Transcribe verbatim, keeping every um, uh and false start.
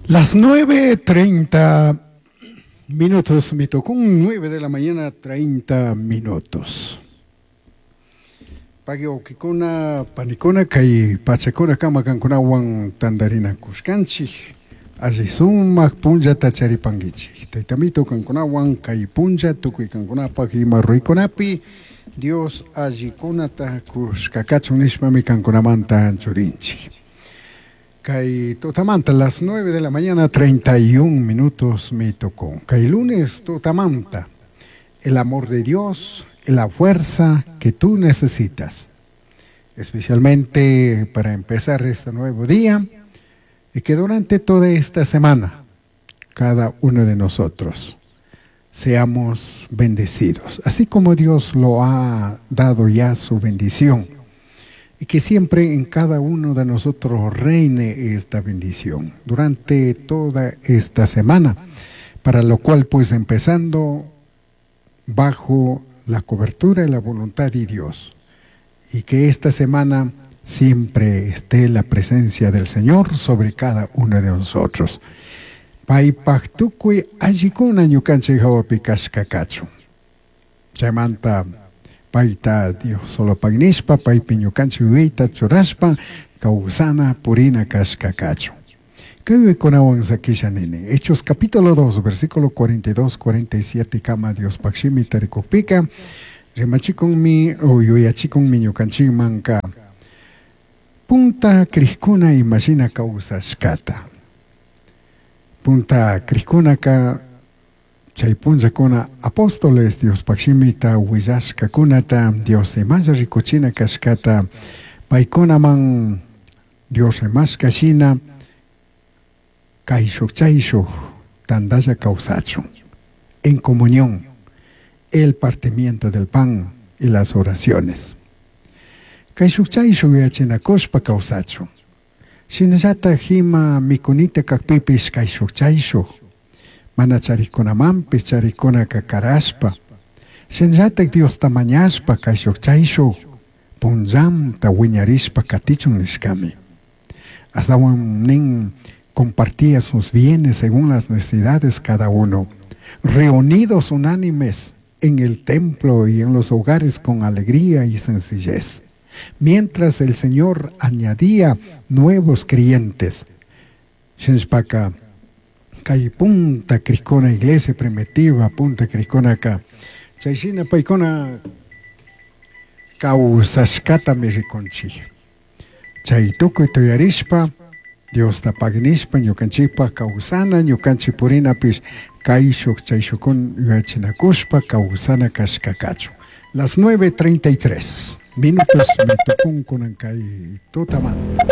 Las nueve treinta minutos, me tocó un nueve de la mañana, treinta minutos. Pagui wawkikuna, panikuna, kay pachakuna kama kankunawan tantarinakushkanchik, alli sumak punllata charipankichik. Taytamito kankunawan kay punlla tukuy kankunapak ima ruraykunapi Dios allikunata kushkakachun nishpami kankunamanta anchurinchik. Kay tutamanta, las nueve de la mañana, treinta y un minutos me tocó. Kay lunes tutamanta, el amor de Dios, la fuerza que tú necesitas, especialmente para empezar este nuevo día y que durante toda esta semana, cada uno de nosotros seamos bendecidos, así como Dios lo ha dado ya su bendición, y que siempre en cada uno de nosotros reine esta bendición durante toda esta semana, para lo cual pues empezando bajo la cobertura y la voluntad de Dios, y que esta semana siempre esté la presencia del Señor sobre cada uno de nosotros. Paypaj tukuy allikuna ñukanchik hawapi kashka kachun. Chaymanta payta Dios solo pagnishpa, paypi ñukanchik yuyayta churashpa, kawsana purina kashka kachun. Kaykunawan sakisha nini. Hechos capítulo dos, versículo cuarenta y dos, cuarenta y siete, kama Dios pakshimi tarikukpika, rimachikunmi o yuyachikunmi ñukanchikmanka punta krikuna imashina kawsashkata. Punta krikkunaka chay punllakuna apóstoles Dios pakshimita willashkakunata Dios imalla rikuchina kashkata paykunaman Dios rimashka shina kayshuk chayshuk tandalla kawsachun en comunión, el partimiento del pan y las oraciones. Kayshuk chayshuk yachinakushpa kawsachun. Shinallatak ima mikunita kakpipish kayshuk chayshuk mana charikunamanpish charikunaka karashpa. Shinallatak Diosta mañashpa kayshuk chayshuk punllanta wiñarishpa katichun nishkami. Astawan nin compartía sus bienes según las necesidades cada uno, reunidos unánimes en el templo y en los hogares con alegría y sencillez, mientras el Señor añadía nuevos creyentes. Shinshpaka, kay punta krikuna iglesia primitiva, punta krikuna ka, chayshina paykuna kawsashkatami rikunchik. Chay tukuy tuyarishpa, Diosta pagnishpa, ñukanchikpa kawsana, ñukanchik purinapish kayshuk chayshukun yuyachinakushpa kawsana kashkakachu. Las nueve treinta y tres minutos me tocó con kay tutamanta.